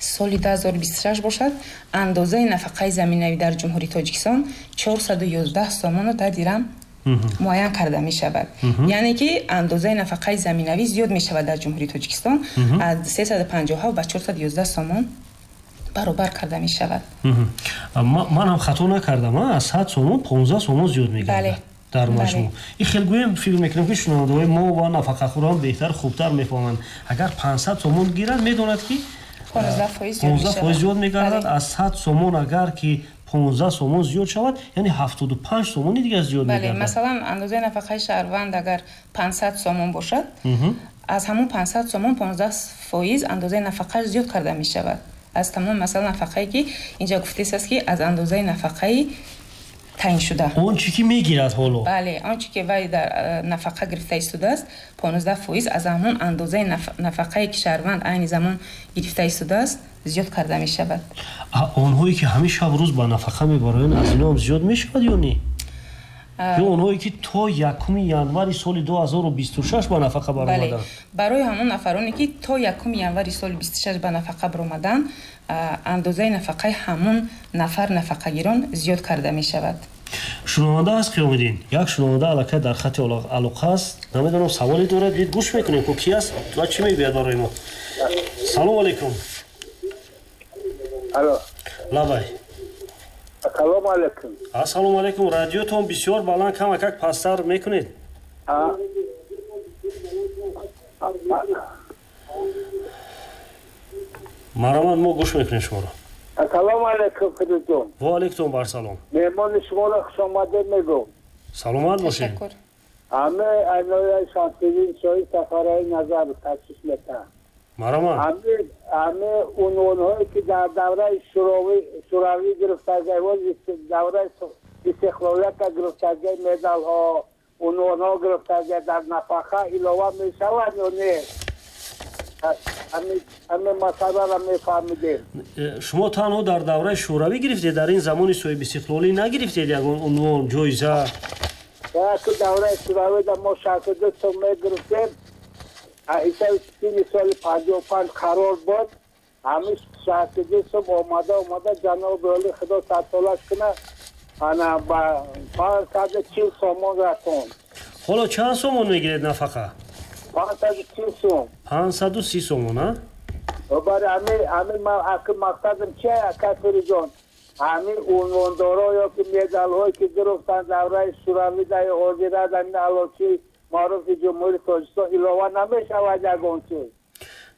Соли 2026 бошад, андозаи нафақаи заминавӣ дар Ҷумҳурии Тоҷикистон 411 сомону 10 дирам муайян карда мешавад. Яъне ки андозаи нафақаи заминавӣ зиёд мешавад дар Ҷумҳурии Тоҷикистон, аз 357 ба 411 сомон баробар карда мешавад. Ман ҳам хато накардам, аз 100 сомон 15 сомон зиёд мегардад дар маҷмӯъ. Ин хел гӯем, фикр мекунам, ки шунавандаҳои мо ва нафақахӯрон беҳтар, хубтар мефаҳманд. Агар 500 сомон гиранд, медонад, ки 15% зиёд мегардад. Аз 100 сомон агар ки 15 сомон зиёд шавад, яъне 75 сомони дигар зиёд мегардад. Масалан, андозаи нафақаи шаҳрванд агар 500 сомон бошад, аз ҳамон 500 сомон 15% андозаи нафақааш зиёд карда мешавад. Аз тамом, масалан, нафақае ки инҷа гуфтааст, ки аз андозаи нафақаи таъин шуда. Он чӣ ки мегирад ҳоло? Бале, он чӣ ки вай дар нафақа гирифта истодааст, 15% аз ҳамон андозаи нафақае ки шаҳрванд айни замон гирифта истодааст, зиёд карда мешавад. Онҳое ки ҳамин шаб рӯз ба нафақа мебароянд, аз ино ҳам зиёд мешавад ё не? Ё онҳое ки то 1 январи соли 2026 ба нафақа баромаданд? Барои ҳамон нафароне ки то 1 январи соли 26 ба нафақа баромаданд, андозаи нафақаи ҳамон нафар нафақагирон зиёд карда мешавад. Шунаванда аст, Қиёмиддин. Як шунаванда аллакай дар хати алоқа аст. Намедонам, саволе дорад, бид гӯш мекунем, ку ки аст ва чӣ мегӯяд барои мо. Салому алайкум. Алло. Лабай. Ассалому алайкум. Ассалому алайкум. Радиотон бисёр баланд, камакак пасттар мекунед. Марамад, мо гӯш мекунем шуморо. Ассалому алайкум, Фирӯзҷон. Ва алайкум барсалом. Меҳмони шуморо хушомадед мегӯм. Саломат бошед. Ҳама айнои Шамсиддин Шоҳи Сафараи Назар ташриф метаҳанд. Марамад. Ҳама унвонҳое ки дар давраи Шӯравӣ гирифтагӣ, давраи истиқлолията гирифтагӣ, медалҳо, унвонҳо гирифтагӣ дар нафақа илова мешавад ё не? Ҳамин масъаларо мефаҳмидем. Шумо танҳо дар давраи Шӯравӣ гирифтед, дар ин замони соҳибистиқлолӣ нагирифтед ягон унвон, ҷоиза? Ки давраи Шӯравида мо 62 сом мегирифтем, ҳисоби сини соли 55 қарор буд, ҳамин 62 сом омада омада, ҷаноби олӣ худо садсолаш кунад, ана ба 540 сомон расонд. Ҳоло чанд сомон мегиред нафақа? 530 сом. 530 сомон, а? Барои ҳамин ман аки мақсадам чи, ака Фирӯзҷон, ҳамин унвондоро ё ки медалҳое ки гирифтанд давраи Шӯравида ё ҳозира дар ин аълочии маъруфи Ҷумҳурии Тоҷикистон илова намешавад ягон чиз?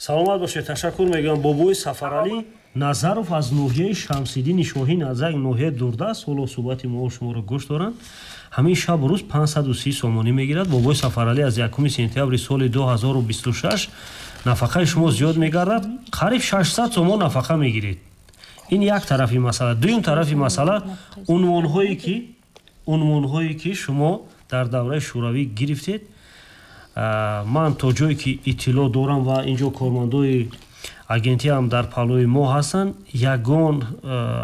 Саломат бошед, ташаккур мегӯям. Бобои Сафаралӣ Назаров аз ноҳияи Шамсиддини Шоҳӣ, Назар, ноҳияи дурдаст, ҳоло суҳбати мо шуморо гӯш доранд. Ҳамин шабу рӯз 530 сомонӣ мегирад. Бобои Сафаралӣ, аз 1 сентябри соли 2026 нафақаи шумо зиёд мегардад, қариб 600 сомон нафақа мегиред. Ин як тарафи масъала. Дуюм тарафи масъала, унвонҳое ки шумо дар давраи Шӯравӣ гирифтед, ман то ҷое ки иттилоъ дорам ва инҷо кормандои агентӣ ҳам дар паҳлӯи мо ҳастанд, ягон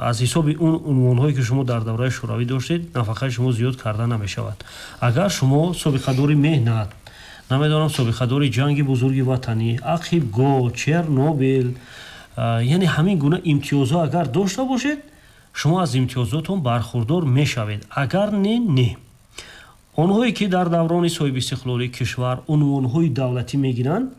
аз ҳисоби он унвонҳое ки шумо дар давраи Шӯравӣ доштед, нафақаи шумо зиёд карда намешавад. Агар шумо собиқадори меҳнат, намедонам, собиқадори ҷанги бузурги ватанӣ, Ақибгоҳ, Чернобил, яъне ҳамин гуна имтиёзҳо агар дошта бошед, шумо аз имтиёзотон бархурдор мешавед. Агар не, не. Онҳое ки дар даврони соҳибистиқлолии кишвар унвонҳои давлатӣ мегиранд,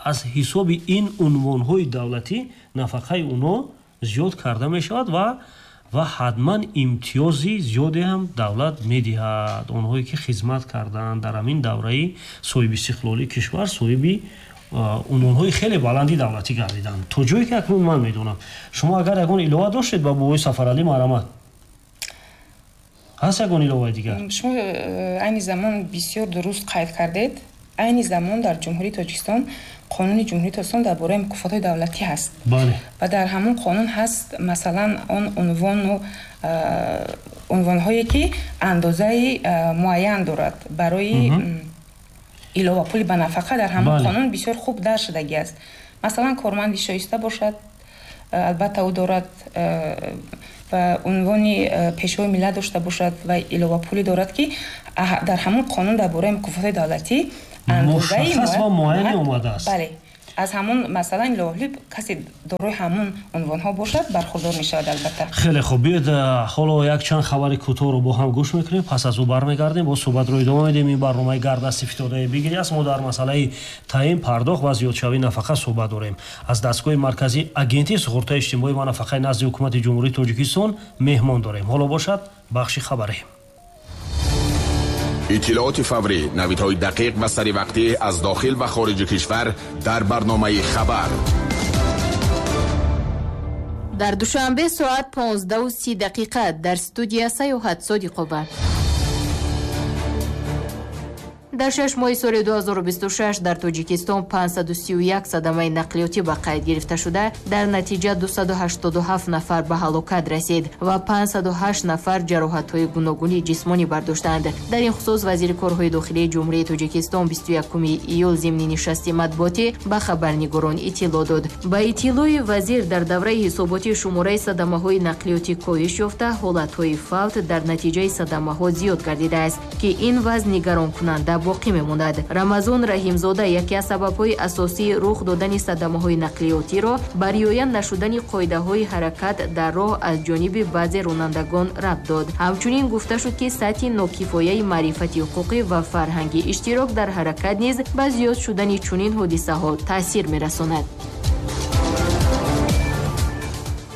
аз ҳисоби ин унвонҳои давлатӣ нафақаи онҳо зиёд карда мешавад ва ҳатман имтиёзи зиёде ҳам давлат медиҳад. Онҳое ки хизмат карданд дар ҳамин давраи соҳибистиқлолии кишвар, соҳиби унвонҳои хеле баланди давлатӣ гардиданд. То ҷое ки акнун ман медонам. Шумо агар ягон илова доштед ба бобои Сафаралӣ, марҳамат. Ҳаст ягон иловаи дигар? Шумо айни замон бисёр дуруст қайд кардед. Айни замон дар Ҷумҳурии Тоҷикистон қонуни Ҷумҳурии Тоҷикистон дар бораи мукофотҳои давлатӣ ҳаст. Ва дар ҳамон қонун ҳаст, масалан, он унвону унвонҳое ки андозаи муайян дорад барои иловапули ба нафақа, дар ҳамон қонун бисёр хуб дарҷ шудагӣ аст. Масалан, корманди шоиста бошад, албатта ӯ дорад ва унвони пешвои миллат дошта бошад ва иловапулӣ дорад, ки дар ҳамон қонун дар бораи мукофотҳои давлатӣ андозаи муайяне омадааст. Бале, Аз ҳамон масалан иловапулӣ касе дорои ҳамон унвонҳо бошад, бархурдор мешавад албатта. Хеле хуб, биёед ҳоло якчанд хабари кӯтоҳро бо ҳам гӯш мекунем, пас аз ӯ бармегардем, бо суҳбатро идома медиҳем. Ин барномаи Гардасти фитодаи бигирӣ аст. Мо дар масъалаи таъин, пардохт ва зиёдшавии нафақа суҳбат дорем. Аз дастгоҳи марказии Агентии суғуртаи иҷтимоӣ ва нафақаи назди Ҳукумати Ҷумҳурии Тоҷикистон меҳмон дорем. Ҳоло бошад бахши хабарӣ. Иттилооти фаврӣ, навидҳои дақиқ ва саривақтӣ аз дохил ва хориҷи кишвар дар барномаи хабар. Дар Душанбе соат 15:30 дар студия Саёҳат Содиқова. Дар 6 моҳи соли 2026 дар Тоҷикистон 531 садамаи нақлиётӣ ба қайд гирифта шуда, дар натиҷа 287 нафар ба ҳалокат расид ва 508 нафар ҷароҳатҳои гуногуни ҷисмонӣ бардоштанд. Дар ин хусус вазири корҳои дохилии Ҷумҳурии Тоҷикистон 21 июл зимни нишасти матбуотӣ ба хабарнигорон иттилоъ дод. Ба иттилои вазир, дар давраи ҳисоботӣ шумораи садамаҳои нақлиётӣ коҳиш ёфта, ҳолатҳои фавт дар натиҷаи садамаҳо зиёд гардидааст, ки ин вазъ нигаронкунанда боқӣ мемонад. Рамазон Раҳимзода яке аз сабабҳои асосии рух додани садамаҳои нақлиётиро ба риоя нашудани қоидаҳои ҳаракат дар роҳ аз ҷониби баъзе ронандагон рабт дод. Ҳамчунин гуфта шуд, ки сатҳи нокифояи маърифати ҳуқуқӣ ва фарҳанги иштирок дар ҳаракат низ ба зиёд шудани чунин ҳодисаҳо таъсир мерасонад.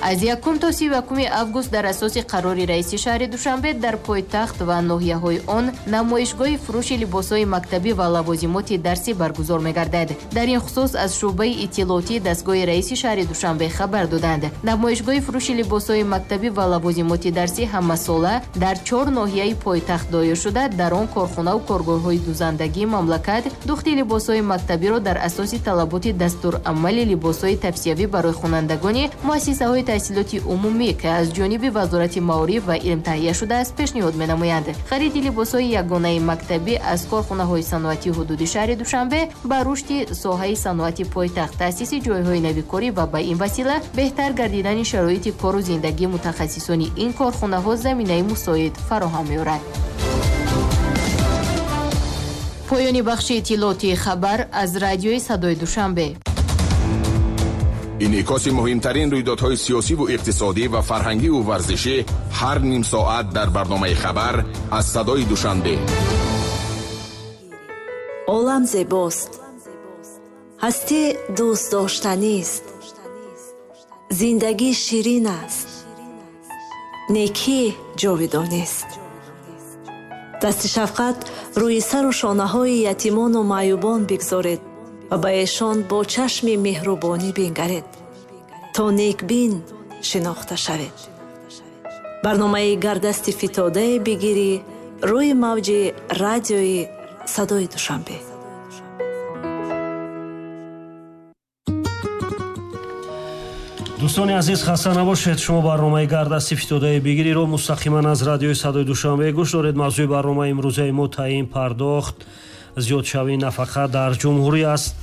Аз 1 то 31 август дар асоси қарори раиси шаҳри Душанбе дар пойтахт ва ноҳияҳои он намоишгоҳи фурӯши либосҳои мактабӣ ва лавозимоти дарсӣ баргузор мегардад. Дар ин хусус аз шӯъбаи иттилоотии дастгоҳи раиси шаҳри Душанбе хабар доданд. Намоишгоҳи фурӯши либосҳои мактабӣ ва лавозимоти дарсӣ ҳамасола дар 4 ноҳияи пойтахт доир шуда, дар он корхонаву коргоҳҳои дузандагии мамлакат духти либосҳои мактабиро дар асоси талаботи дастурамали либосҳои тавсиявӣ барои хонандагони муассисаҳои таҳсилоти умумӣ, ки аз ҷониби Вазорати маориф ва илм таҳия шудааст, пешниҳод менамоянд. Хариди либосҳои ягонаи мактабӣ аз корхонаҳои саноатии ҳудуди шаҳри Душанбе ба рушди соҳаи саноати пойтахт, таъсиси ҷойҳои навикорӣ ва ба ин васила беҳтар гардидани шароити кору зиндагии мутахассисони ин корхонаҳо заминаи мусоид фароҳам меорад. Поёни бахши иттилоотии хабар аз радиои Садои Душанбе. Инъикоси муҳимтарин рӯйдодҳои сиёсиву иқтисодӣ ва фарҳангиву варзишӣ ҳар ним соат дар барномаи хабар аз Садои Душанбе. Олам зебост, ҳастӣ дӯстдоштанист, зиндагӣ ширин аст, некӣ ҷовидонист. Дасти шафқат рӯи сару шонаҳои ятимону маъюбон бигзоред ва ба эшон бо чашми меҳрубонӣ бингаред, то некбин шинохта шавед. Барномаи Гардасти фитодае бигирӣ рӯи мавҷи радиои Садои Душанбе. Дӯстони азиз, хаста набошед. Шумо барномаи Гардасти фитодаи бигириро мустақиман аз радиои Садои Душанбе гӯш доред. Мавзӯи барномаи имрӯзаи мо таъин, пардохт, зиёдшавии нафақа дар ҷумҳурӣ аст.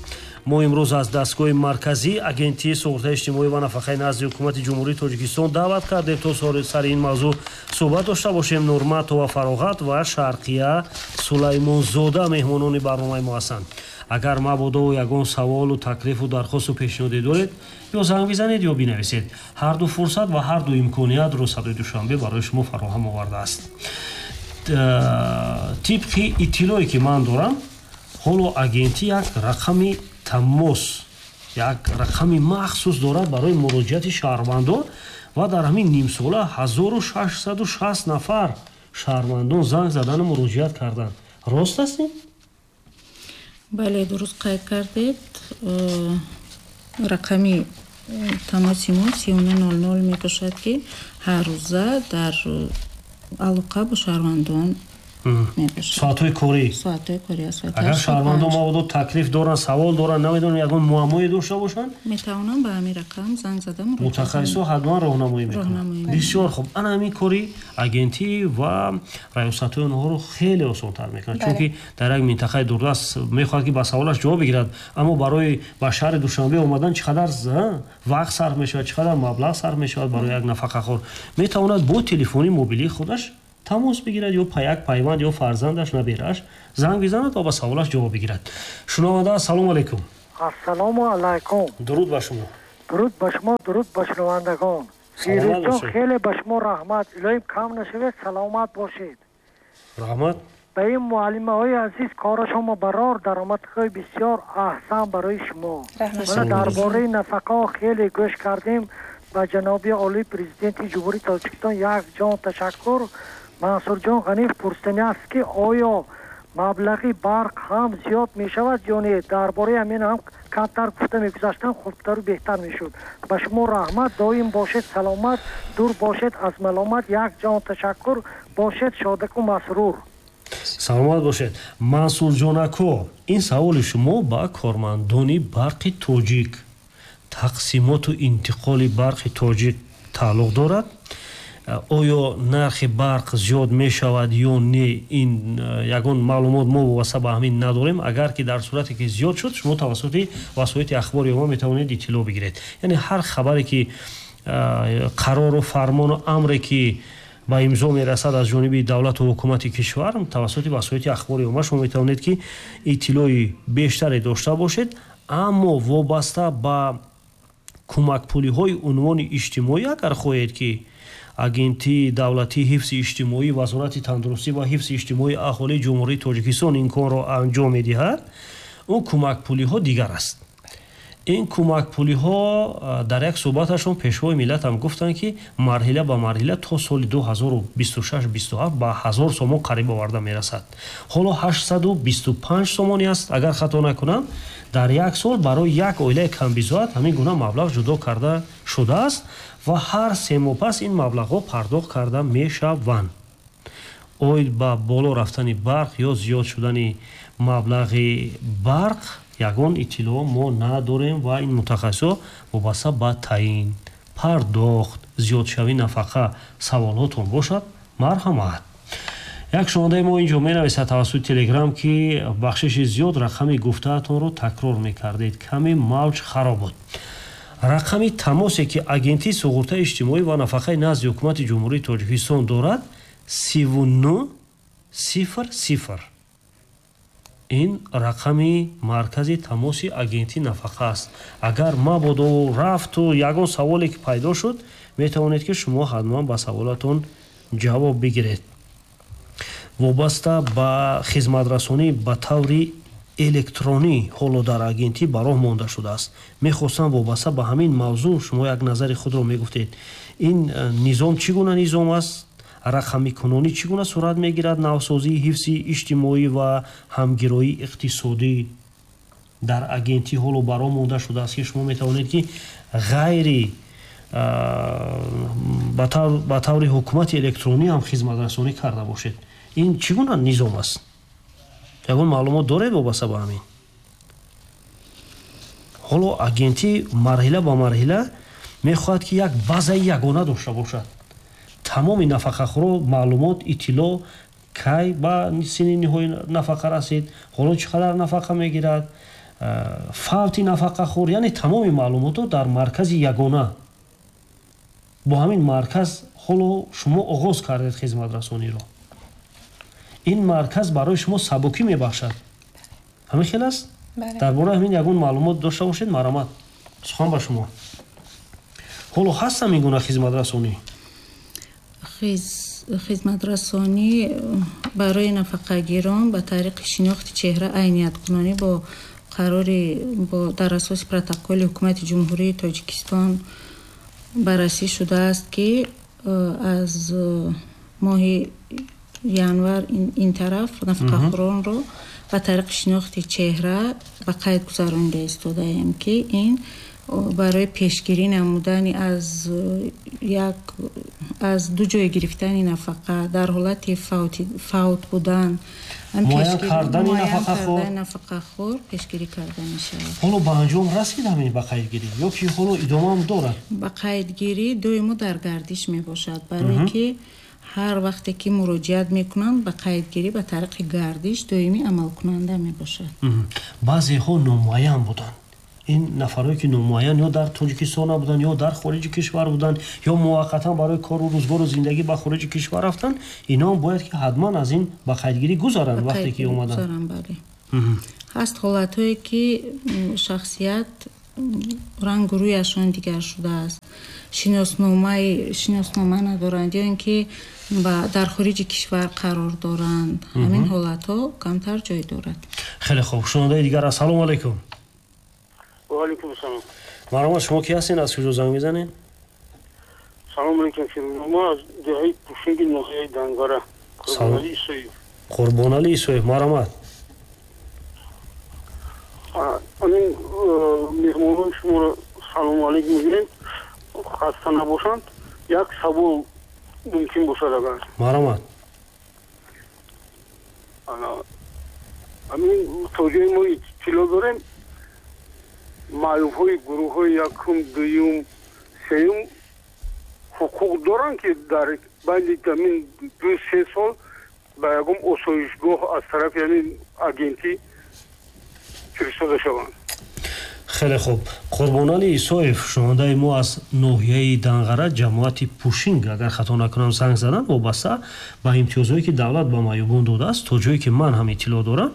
Мо имрӯз аз дастгоҳи марказии Агентии суғуртаи иҷтимоӣ ва нафақаи назди Ҳукумати Ҷумҳурии Тоҷикистон даъват кардем, то сари ин мавзӯъ суҳбат дошта бошем. Нурматова Фароғат ва Шарқия Сулаймонзода меҳмонони барномаи мо ҳастанд. Агар мабодо ягон саволу таклифу дархосту пешниҳоде доред, ё занг бизанед ё бинависед. Ҳар ду фурсат ва ҳар ду имкониятро Садои Душанбе барои шумо фароҳам овардааст. Тибқи иттилое ки ман дорам, ҳоло агентӣ як рақами тамос, як рақами махсус дорад барои муроҷиати шаҳрвандон ва дар ҳамин нимсола 1660 нафар шаҳрвандон занг задану муроҷиат карданд. Рост аст ин? Бале, дуруст қайд кардед. Рақами тамоси мо 3900 мебошад, ки ҳар рӯза дар алоқа бо шаҳрвандон мебошад. Соатҳои корӣ? Соатҳои корӣ. Агар шаҳрвандон мабодо таклиф доранд, савол доранд, намедонам ягон муаммое дошта бошанд, метавонанд ба ҳамин рақам занг зада муроҷиат кунанд. Мутахассисҳо ҳатман роҳнамоӣ мекунанд. Бисёр хуб. Ана ҳамин кори агентӣ ва раёсатҳои онҳоро хеле осонтар мекунад, чунки дар як минтақаи дурдаст мехоҳад, ки ба саволаш ҷавоб бигирад, аммо барои ба шаҳри Душанбе омадан чӣ қадар вақт сарф мешавад, чӣ қадар маблағ сарф мешавад барои як нафақахӯр. Метавонад бо телефони мобилии худаш тамос бигирад ё як пайванд ё фарзандаш, наберааш занг бизанад ва ба саволаш ҷавоб бигирад. Шунаванда, ассалому алайкум. Ассалому алайкум. Дуруд ба шумо. Дуруд ба шумо, дуруд ба шунавандагон. Фирӯзҷон, хеле ба шумо раҳмат. Илоҳим кам нашавед, саломат бошед. Раҳмат. Ба ин муаллимаҳои азиз корашонро барор, даромадҳои бисёр аҳсан барои шумо. Мана дар бораи нафақаҳо хеле гӯш кардем. Ба ҷаноби олии президенти Ҷумҳурии Тоҷикистон як ҷон ташаккур. Мансурҷон Ғаниев пурсидани аст, ки оё маблағи барқ ҳам зиёд мешавад ё не? Дар бораи ҳамин ҳам камтар гуфта мегузаштам, хубтару беҳтар мешуд. Ба шумо раҳмат, доим бошед саломат, дур бошед аз маломат. Як ҷон ташаккур, бошед шодаку масрур. Саломат бошед. Мансурҷон ако, ин саволи шумо ба кормандони барқи тоҷик, тақсимоту интиқоли барқи тоҷик тааллуқ дорад. Оё нархи барқ зиёд мешавад ё не, ин ягон маълумот мо вобаста ба ҳамин надорем. Агар ки дар сурате ки зиёд шуд, шумо тавассути васоити ахбори омма метавонед иттилоъ бигиред. Яъне ҳар хабаре ки қарору фармону амре ки ба имзо мерасад аз ҷониби давлату ҳукумати кишвар, тавассути васоити ахбори омма шумо метавонед ки иттилои бештаре дошта бошед. Аммо вобаста ба кӯмакпулиҳои унвони иҷтимоӣ, агар хоҳед ки Агентии давлатии ҳифзи иҷтимоӣ, Вазорати тандурустӣ ва ҳифзи иҷтимоии аҳолии Ҷумҳурии Тоҷикистон ин корро анҷом медиҳад, он кӯмакпулиҳо дигар аст. Ин кӯмакпулиҳо дар як суҳбаташон пешвои миллат ҳам гуфтанд, ки марҳила ба марҳила то соли 2026-27 ба 1000 сомон қариб оварда мерасад. Ҳоло 825 сомонӣ аст, агар хато накунам, дар як сол барои як оилаи камбизоат ҳамин гуна маблағ ҷудо карда шудааст ва ҳар се моҳ пас ин маблағҳо пардохт карда мешаванд. Оид ба боло рафтани барқ ё зиёд шудани маблағи барқ ягон иттилоъ мо надорем ва ин мутахассисҳо вобаста ба таъин, пардохт, зиёдшавии нафақа саволҳотон бошад, марҳамат. Як шунавандаи мо инҷо менависад тавассути Телеграм, ки бахшиши зиёд рақами гуфтаатонро такрор мекардед, каме мавҷ хароб буд. Рақами тамосе ки Агентии суғуртаи иҷтимоӣ ва нафақаи назди ҳукумати Ҷумҳурии Тоҷикистон дорад 39 00. Ин рақами маркази тамоси агентии нафақа аст. Агар мабодо рафту ягон саволе ки пайдо шуд, метавонед ки шумо ҳатман ба саволатон ҷавоб бигиред. Вобаста ба хизматрасонӣ ба таври электронӣ ҳоло дар агентӣ ба роҳ монда шудааст. Мехостам вобаста ба ҳамин мавзӯъ шумо як назари худро мегуфтед. Ин низом чӣ гуна низом аст? Рақамикунонӣ чӣ гуна сурат мегирад? Навсозии ҳифзи иҷтимоӣ ва ҳамгироии иқтисодӣ дар агентӣ ҳоло ба роҳ монда шудааст, ки шумо метавонед ки ғайри ба таври ҳукумати электронӣ ҳам хизматрасонӣ карда бошед. Ин чӣ гуна низом аст? Ягон маълумот доред вобаста ба ҳамин? Ҳоло агентӣ марҳила ба марҳила мехоҳад ки як базаи ягона дошта бошад. Тамоми нафақахӯро маълумот, иттилоъ, кай ба синни ниҳои нафақа расид, ҳоло чӣ қадар нафақа мегирад, фавти нафақахӯр, яъне тамоми маълумотҳо дар маркази ягона. Бо ҳамин марказ ҳоло шумо оғоз кардед хизматрасониро. Ин марказ барои шумо сабукӣ мебахшад. Ҳамин хел аст? Дар бораи ҳамин ягон маълумот дошта бошед, марҳамат. Сухан ба шумо. Ҳоло ҳаст ҳамин гуна хизматрасонӣ? Хизматрасонӣ барои нафақагирон ба тариқи шинохти чеҳра айнияткунонӣ бо қарори дар асоси протоколи ҳукумати Ҷумҳурии Тоҷикистон баррасӣ шудааст, ки аз моҳи январ ин тараф нафақахӯронро ба тариқи шинохти чеҳра ба қайд гузаронида истодаем, ки ин барои пешгирӣ намудани аз ду ҷой гирифтани нафақа дар ҳолати фавт будан, муайян кардани нафақахӯр пешгирӣ карда мешавад. Ҳоло ба анҷом расид ҳамин ба қайдгирӣ ё ки ҳоло идомаам дорад? Ба қайдгирӣ доимо дар гардиш мебошад, барое ки ҳар вақте ки муроҷиат мекунанд ба қайдгирӣ ба тариқи гардиш доимӣ амалкунанда мебошад. Баъзеҳо номуайян буданд. Ин нафарое ки номуайян ё дар Тоҷикистон набуданд, ё дар хориҷи кишвар буданд, ё муваққатан барои кору рӯзгору зиндагӣ ба хориҷи кишвар рафтанд, инҳо бояд ки ҳатман аз ин ба қайдгирӣ гузаранд вақте ки омаданд. Ҳаст ҳолатҳое, ки шахсият рангу рӯяшон дигар шудааст, шиноснома надоранд ё ин ки дар хориҷи кишвар қарор доранд. Ҳамин ҳолатҳо камтар ҷой дорад. Хеле хуб. Шунавандаи дигар, ассалому алайкум. Ва алайкум ассалом. Марҳамат, шумо ки ҳастед, аз куҷо занг мезанед? Салом алайкум, мо аз деҳаи Пушинги ноҳияи Данғара, Қурбонали Исоев. Қурбонали Исоев, марҳамат. Ҳамин меҳмонони шуморо салому алайкум мегӯем, хаста набошанд. Як савол мумкин бошад агар? Марҳамат. Ҳамин то ҷое мо иттилоъ дорем, маъюбҳои гурӯҳҳои якум, дуюм, сеюм ҳуқуқ доранд, ки дар байни ҳамин 2-3 сол ба ягон осоишгоҳ аз тарафи ҳамин агентӣ фиристода шаванд? Хеле хуб. Қурбонали Исоев, шунавандаи мо аз ноҳияи Данғара, ҷамоати Пушинг, агар хато накунам, занг заданд вобаста ба имтиёзҳое, ки давлат ба маъюбон додааст. То ҷое ки ман ҳам иттилоъ дорам,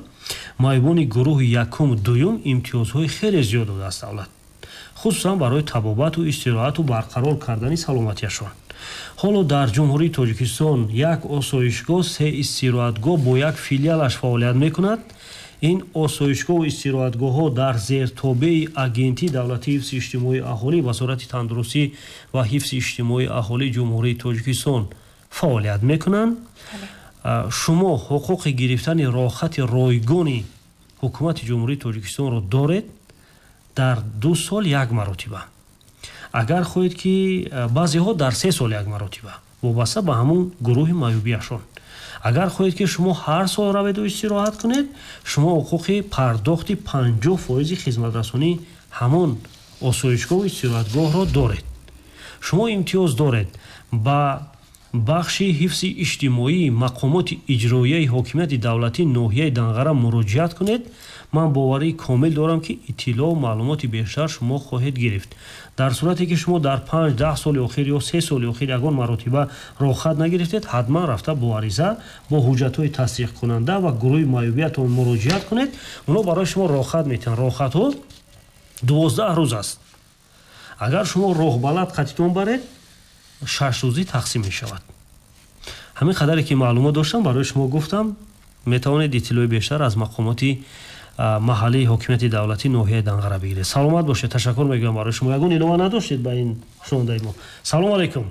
маъюбони гурӯҳи якум, дуюм имтиёзҳои хеле зиёд додааст давлат, хусусан барои табобату истироҳату барқарор кардани саломатиашон. Ҳоло дар Ҷумҳурии Тоҷикистон як осоишгоҳ, се истироҳатгоҳ бо як филиалаш фаъолият мекунад. Ин осоишгоҳу истироҳатгоҳҳо дар зертобеи Агентии давлатии ҳифзи иҷтимоии аҳолӣ, Вазорати тандурустӣ ва ҳифзи иҷтимоии аҳолии Ҷумҳурии Тоҷикистон фаъолият мекунанд. Шумо ҳуқуқи гирифтани роҳхати ройгони ҳукумати Ҷумҳурии Тоҷикистонро доред дар 2 сол як маротиба. Агар хоҳед, ки баъзеҳо дар 3 сол як маротиба, вобаста ба ҳамун гурӯҳи маъюбиашон. Агар хоҳед, ки шумо ҳар сол раведу истироҳат кунед, шумо ҳуқуқи пардохти 50% хизматрасонии ҳамон осоишгоҳу истироҳатгоҳро доред. Шумо имтиёз доред ба бахши ҳифзи иҷтимоии мақомоти иҷроияи ҳокимияти давлатии ноҳияи Данғара муроҷиат кунед. Ман боварии комил дорам, ки иттилоъу маълумоти бештар шумо хоҳед гирифт. Дар сурате ки шумо дар 5-10 соли охир ё 3 соли охир ягон маротиба роҳхат нагирифтед, ҳатман рафта бо ариза, бо ҳуҷҷатҳои тасдиқкунанда ва гурӯҳи маъюбиятон муроҷиат кунед. Онҳо барои шумо роҳхат метиҳанд. Роҳхатҳо 12 рӯз аст. Агар шумо роҳбалад қатитон баред, 6 рӯзӣ тақсим мешавад. Ҳамин қадаре ки маълумот доштам, барои шумо гуфтам. Метавонед иттилои бештар аз мақомоти маҳаллии ҳокимияти давлатии ноҳияи Данғара бигиред. Саломат бошед, ташаккур мегӯям барои шумо. Ягон илова надоштед ба ин шунавандаи мо? Салому алайкум.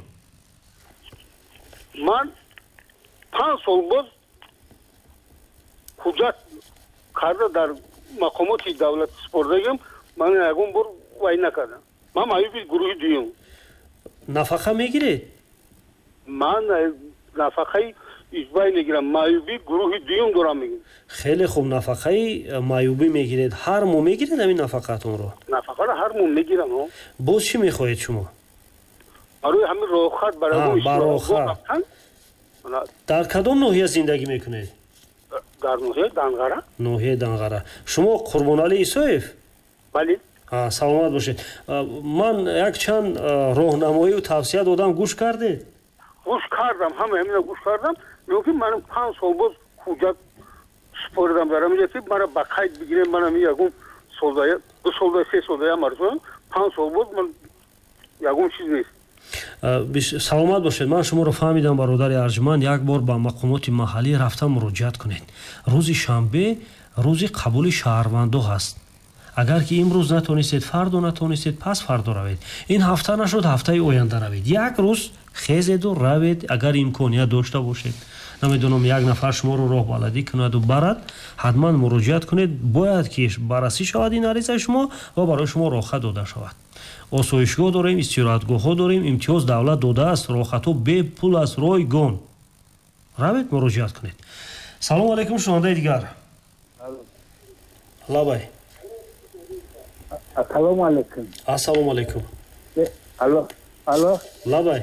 Ман 5 сол боз ҳуҷҷат карда дар мақомоти давлат супордагим, ман ягон бор вай накардам. Ман маъюби гурӯҳи дуюм. Нафақа мегиред? Ман нафақаи иҷбай мегирам, маъюби гурӯҳи дуюм дорам, мегирам. Хеле хуб, нафақаи маъюбӣ мегиред. Ҳар моҳ мегиред ҳамин нафақаатонро? Нафақаро ҳар моҳ мегирам. Боз чӣ мехоҳед шумо? Барои ҳамин роҳхат, барои роҳхат. Дар кадом ноҳия зиндагӣ мекунед? Дар ноҳияи Данғара. Ноҳияи Данғара. Шумо Қурбоналӣ Исоев? Бале. Саломат бошед. Ман якчанд роҳнамоию тавсия додам, гӯш кардед? Гӯш кардам, ҳама ҳамина гӯш кардам. Лекин ман 5 сол боз ҳуҷҷат супоридам дар ҳаминҷа, ки мара ба қайд бигирем. Ман ҳамин ягон солда, 2 солда, 3 солда як маротиба, 5 сол боз ман ягон чиз нест. Саломат бошед. Ман шуморо фаҳмидам, бародари арҷманд. Як бор ба мақомоти маҳаллӣ рафта муроҷиат кунед. Рӯзи шанбе рӯзи қабули шаҳрвандо ҳаст. Агар ки имрӯз натонистед, фардо натонистед, пас фардо равед. Ин ҳафта нашуд, ҳафтаи оянда равед. Як рӯз хезеду равед, агар имконият дошта бошед. Намедонам, як нафар шуморо роҳбаладӣ кунаду барад, ҳатман муроҷиат кунед. Бояд ки баррасӣ шавад ин аризаи шумо ва барои шумо роҳхат дода шавад. Осоишгоҳ дорем, истироҳатгоҳҳо дорем, имтиёз давлат додааст, роҳхатҳо бепул аст, ройгон. Равед, муроҷиат кунед. Салому алайкум, шунавандаи дигар. Лабай. Ассалому алайкум. Ассалому алайкум. Алло, алло. Лабай.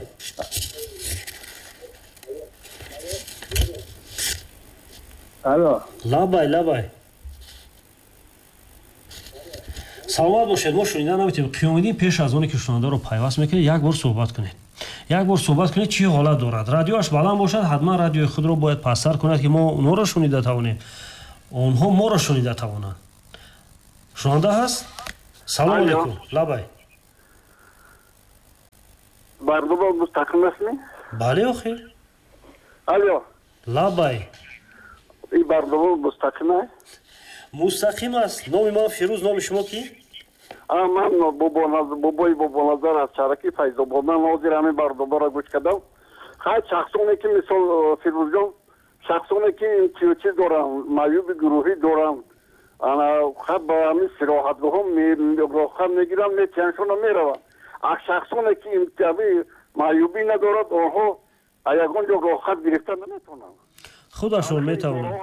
Алло. Лабай, лабай. Саломат бошед. Мо шунида наметавонем. Қиёмиддин, пеш аз оне ки шунавандаро пайваст мекунед, як бор суҳбат кунед. Як бор суҳбат кунед, чӣ ҳолат дорад. Радиоаш баланд бошад, ҳатман радиои худро бояд пасттар кунад, ки мо онҳоро шунида тавонем, онҳо моро шунида тавонанд. Шунаванда ҳаст? Салом алейкум. Лабай. Барнома мустақим аст ми? Бале, охир. Алло. Лабай. Ин барнома мустақим аст? Мустақим аст. Номи ман Фирӯз, номи шумо кӣ? Ман бобои Бобоназар аз шаҳраки Файзобод. Ман ҳозир ҳамин барномаро гӯш кардам. Хай, шахсоне ки, мисол, Фирӯзҷон, шахсоне ки имтиёзчӣ доранд, маъюби гурӯҳӣ доранд, ба ҳамин сироҳатгоҳҳо роҳхат мегиранд, метиҳаншона мераванд. А шахсоне ки маъюбӣ надорад, онҳо ягон ҷо роҳхат гирифта наметавонанд. Худашон метавонанд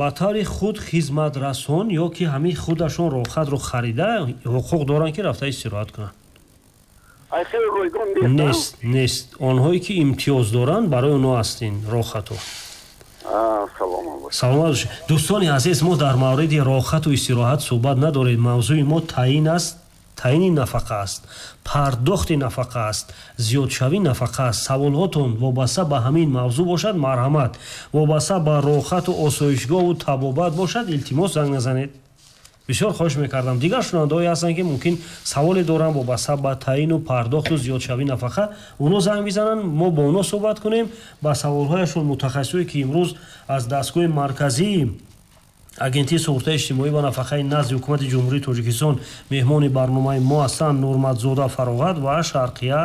ба таври худ хизматрасон ё ки ҳамин худашон роҳхатро харида, ҳуқуқ доранд, ки рафта истироҳат кунанд. Нест, нест. Онҳое ки имтиёз доранд, барои онҳо аст ин роҳхатҳо. Саломат бошед. Дӯстони азиз, мо дар мавриди роҳхату истироҳат суҳбат надорем. Мавзӯи мо таъин аст, таъини нафақа аст, пардохти нафақа аст, зиёдшавии нафақа аст. Саволҳотон вобаста ба ҳамин мавзӯъ бошад, марҳамат. Вобаста ба роҳхату осоишгоҳу табобат бошад, илтимос, занг назанед. Бисёр хоҳиш мекардам. Дигар шунавандаҳое ҳастанд, ки мумкин саволе доранд вобаста ба таъину пардохту зиёдшавии нафақа, онҳо занг бизананд, мо бо онҳо суҳбат кунем. Ба саволҳояшон мутахассисое, ки имрӯз аз дастгоҳи марказии Агентии суғуртаи иҷтимоӣ ва нафақаи назди Ҳукумати Ҷумҳурии Тоҷикистон меҳмони барномаи мо ҳастанд, Нурматзода Фароғат ва Шарқия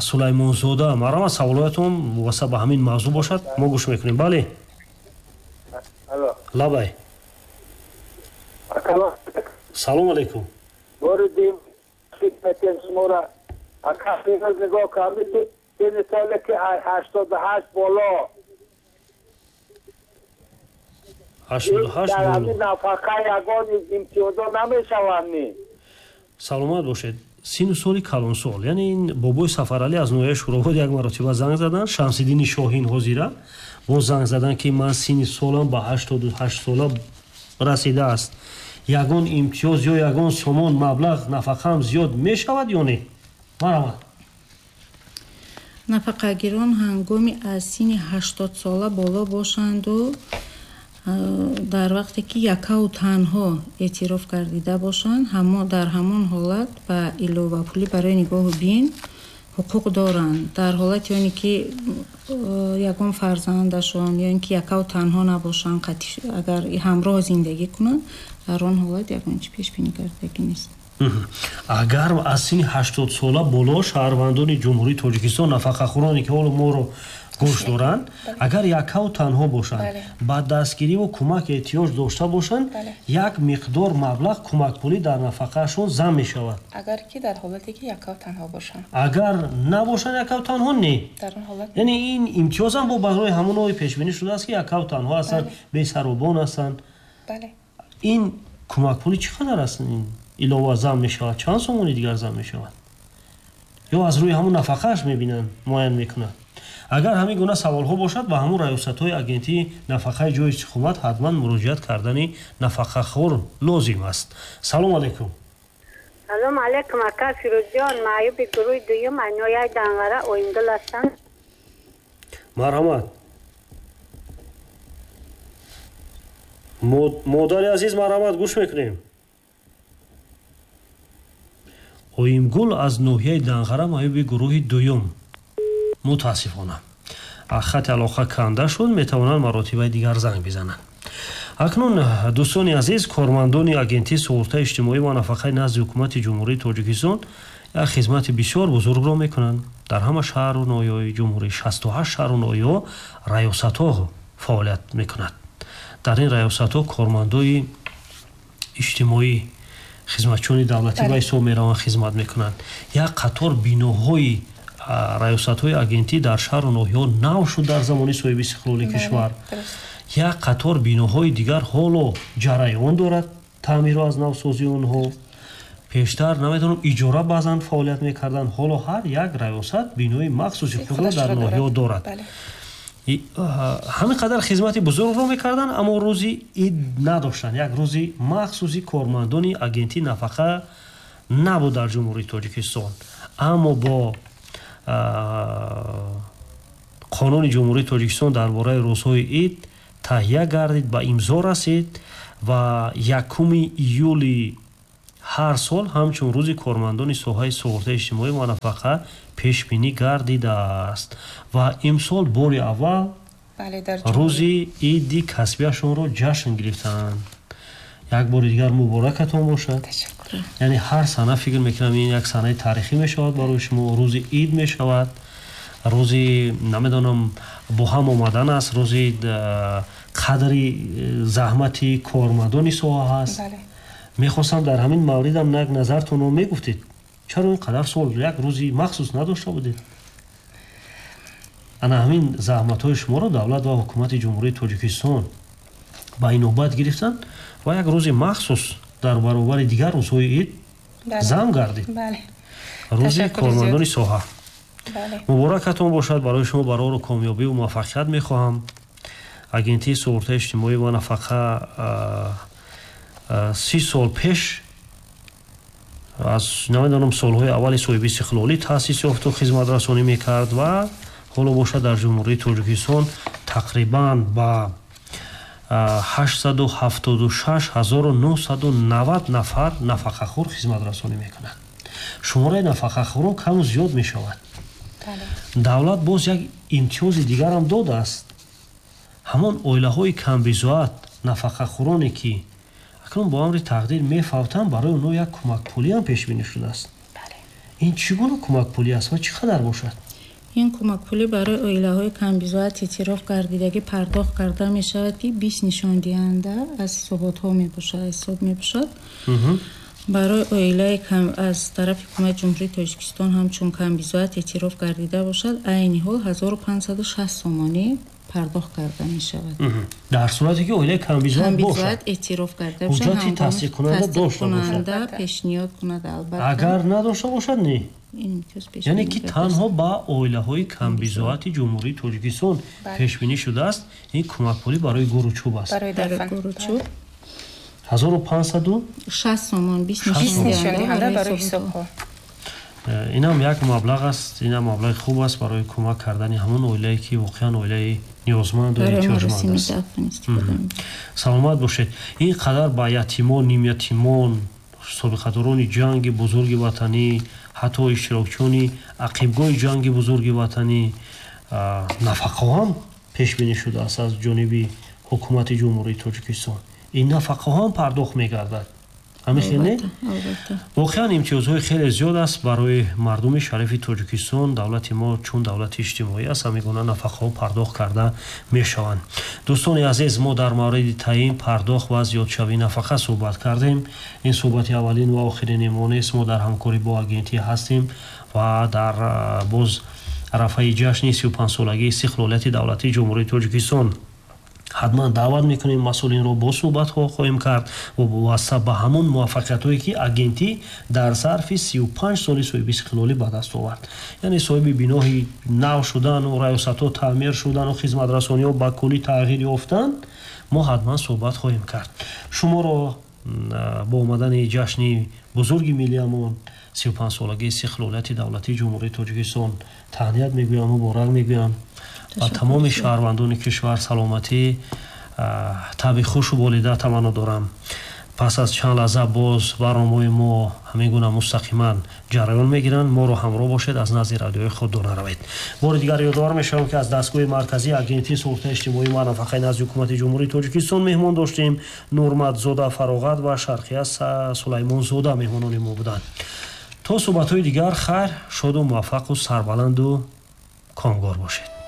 Сулаймонзода. Марҳамат, саволҳоятон вобаста ба ҳамин мавзӯъ бошад, мо гӯш мекунем. Бале, лабай. Салом алейкум. Воридим хидмати шуморо. Ака, нигоҳ кардед, сини соле ки 88 боло, 88 боло, нафақа ягон имтиёзо намешаванд? Саломат бошед. Сину соли калонсол, яъне ин бобои Сафаралӣ аз ноҳияи Шӯробод як маротиба занг заданд. Шамсиддини Шоҳин ҳозира боз занг заданд, ки ман сини солам ба 88 сола расидааст, ягон имтиёз ё ягон сомон маблағ нафақаам зиёд мешавад ё не? Марҳамат. Нафақагирон ҳангоми аз синни 80 сола боло бошанду дар вақте ки якаву танҳо эътироф гардида бошанд, дар ҳамон ҳолат ба иловапулӣ барои нигоҳу бин ҳуқуқ доранд. Дар ҳолати оне ки ягон фарзандашон ё ин ки якаву танҳо набошанд, агар ҳамроҳ зиндагӣ кунанд, дар он ҳолат ягон чи пешбинӣ кардагӣ нест. Агар аз синни 80 сола боло шаҳрвандони Ҷумҳурии Тоҷикистон, нафақахӯроне ки ҳоло моро гӯш доранд, агар якаву танҳо бошанд, ба дастгириву кӯмак эҳтиёҷ дошта бошанд, як миқдор маблағ кӯмакпулӣ дар нафақаашон зам мешавад. Агар ки дар ҳолате ки якаву танҳо бошанд. Агар набошанд якаву танҳо, не. Яъне ин имтиёзам бо барои ҳамонҳое пешбинӣ шудааст, ки якаву танҳо ҳастанд, бесаробон ҳастанд. Ин кӯмакпулӣ чӣ қадар аст? Ин илова зам мешавад, чанд сомони дигар зам мешавад? Ё аз рӯи ҳамон нафақааш мебинанд, муайян мекунанд? Агар ҳамин гуна саволҳо бошад, ба ҳамон раёсатҳои агентии нафақаи ҷои истиқомат ҳатман муроҷиат кардани нафақахӯр лозим аст. Салом алейкум. Салом алейкум, ака Фирӯзҷон. Маъюби гурӯҳи дуюм, ноҳияи Данғара, Оингул ҳастам. Марҳамат, модари азиз, марҳамат, гӯш мекунем. Оимгул аз ноҳияи Данғара, маъюби гурӯҳи дуюм. Мутаассифона, хати алоқа канда шуд, метавонанд маротибаи дигар занг бизананд. Акнун, дӯстони азиз, кормандони Агентии суғуртаи иҷтимоӣ ва нафақаи назди Ҳукумати Ҷумҳурии Тоҷикистон як хизмати бисёр бузургро мекунанд. Дар ҳама шаҳру ноҳияҳои ҷумҳурӣ, 68 шаҳру ноҳияҳо, раёсатҳо фаъолият мекунад. Дар ин раёсатҳо кормандои иҷтимоӣ, хизматчиёни давлатӣ ба ҳисоб мераванд, хизмат мекунанд. Як қатор биноҳои раёсатҳои агентӣ дар шаҳру ноҳияҳо нав шуд дар замони соҳиби истиқлоли кишвар. Як қатор биноҳои дигар ҳоло ҷараён дорад таъмиру аз навсозии онҳо. Пештар, намедонам, иҷора баъзан фаъолият мекарданд, ҳоло ҳар як раёсат бинои махсуси худро дар ноҳияҳо дорад. Ҳамин қадар хизмати бузургро мекарданд, аммо рӯзи ид надоштанд. Як рӯзи махсуси кормандони агентии нафақа набуд дар Ҷумҳурии Тоҷикистон. Аммо бо қонуни Ҷумҳурии Тоҷикистон дар бораи рӯзҳои ид таҳия гардид, ба имзо расид Ва 1 июли ҳар сол ҳамчун рӯзи кормандони соҳаи суғуртаи иҷтимоӣ ва нафақа пешбинӣ гардидааст. Ва имсол бори аввал рӯзи иди касбияшонро ҷашн гирифтанд. Як бори дигар муборакатон бошад. Яъне ҳар сана фикр мекунам ин як санаи таърихӣ мешавад барои шумо, рӯзи ид мешавад, рӯзи намедонам бо ҳам омадан аст, рӯзи қадри заҳмати кормандони соҳа ҳаст. Мехостам дар ҳамин мавридам як назартонро мегуфтед. Чаро ин қадар сол як рӯзи махсус надошта будед? Ана ҳамин заҳматҳои шуморо давлат ва ҳукумати Ҷумҳурии Тоҷикистон ба инобат гирифтанд ва як рӯзи махсус дар баробари дигар рӯзҳои ид зам гардид. Рӯзи кормандони соҳа. Муборакатон бошад, барои шумо барору комёбиву муваффақият мехоҳам. Агентии суғуртаи иҷтимоӣ ва нафақа 30 сол пеш аз намедонам солҳои аввали соҳиби истиқлолӣ таъсис ёфту хизматрасонӣ мекард ва ҳоло бошад дар Ҷумҳурии Тоҷикистон тақрибан ба 876990 нафар нафақахӯр хизматрасонӣ мекунад. Шумораи нафақахӯрон каму зиёд мешавад. Давлат боз як имтиёзи дигарам додааст. Ҳамон оилаҳои камбизоат нафақахӯроне ки акнун бо амри тақдир мефавтанд, барои онҳо як кӯмакпулиам пешбинӣ шудааст. Ин чӣ гуна кӯмакпулӣ аст ва чӣ қадар бошад? Ин кӯмакпулӣ барои оилаҳои камбизоат эътироф гардидагӣ пардохт карда мешавад, ки 20 нишондиҳанда аз ҳисоботҳо мебошад, ҳисоб мебошад. Барои оилаи аз тарафи ҳукумати Ҷумҳурии Тоҷикистон ҳамчун камбизоат эътироф гардида бошад, айни ҳол 1560 сомонӣ пардохт карда мешавад. Дар сурате ки оилаи камбизоат бошад, эътироф карда бошад, ҳуҷҷати тасдиқкунанда дошта бошад, пешниҳод кунад, албатта. Агар надошта бошад, не. Яъне ки танҳо ба оилаҳои камбизоати Ҷумҳурии Тоҷикистон пешбинӣ шудааст. Ин кӯмакпулӣ барои гуру чӯб аст. Барои гуру чӯб 1560 сомон, 20 нишондиҳанда барои ҳисобҳо. Инам як маблағ аст, инам маблағи хуб аст барои кӯмак кардани ҳамон оилае ки воқеан оилаи ниёзманду эҳтиёҷманд аст. Саломат бошед. Ин қадар ба ятимон, нимятимон, собиқадорони ҷанги бузурги ватанӣ, ҳатто иштирокчиёни ақибгоҳи ҷанги бузурги ватанӣ нафақаҳо ҳам пешбинӣ шудааст аз ҷониби ҳукумати Ҷумҳурии Тоҷикистон. Ин нафақаҳо ҳам пардохт мегардад. Ҳамин хел не? Воқеан имтиёзҳои хеле зиёд аст барои мардуми шарифи Тоҷикистон. Давлати мо чун давлати иҷтимоӣ аст, ҳамин гуна нафақаҳо пардохт карда мешаванд. Дӯстони азиз, мо дар мавриди таъин, пардохт ва зиёдшавии нафақа суҳбат кардем. Ин суҳбати аввалин ва охирини мо нест. Мо дар ҳамкорӣ бо агентӣ ҳастем ва дар боз арафаи ҷашни 35-солагии истиқлолияти давлатии Ҷумҳурии Тоҷикистон ҳатман даъват мекунем масъулинро, бо суҳбатҳо хоҳем кард вобаста ба ҳамон муваффақиятҳое ки агентӣ дар зарфи 35 соли соҳиби истиқлолӣ ба даст овард. Яъне соҳиби биноҳи нав шудану раёсатҳо таъмир шудану хизматрасониҳо ба куллӣ тағйир ёфтан, мо ҳатман суҳбат хоҳем кард. Шуморо бо омадани ҷашни бузурги миллиамон 35-солагии истиқлолияти давлатии Ҷумҳурии Тоҷикистон таҳният мегӯям, муборак мегӯям. Ба тамоми шаҳрвандони кишвар саломатӣ, табъи хушу болида таманно дорам. Пас аз чанд лаҳза боз барномаҳои мо ҳамин гуна мустақиман ҷараён мегиранд. Моро ҳамроҳ бошед, аз назди радиои худ дур наравед. Бори дигар ёдовар мешавам, ки аз дастгоҳи марказии агентии суғуртаи иҷтимоӣ ва нафақаи назди ҳукумати Ҷумҳурии Тоҷикистон меҳмон доштем. Нурматзода Фароғат ва Шарқия Сулаймонзода меҳмонони мо буданд. То суҳбатҳои дигар хайр, шоду муваффақу сарбаланду комгор бошед.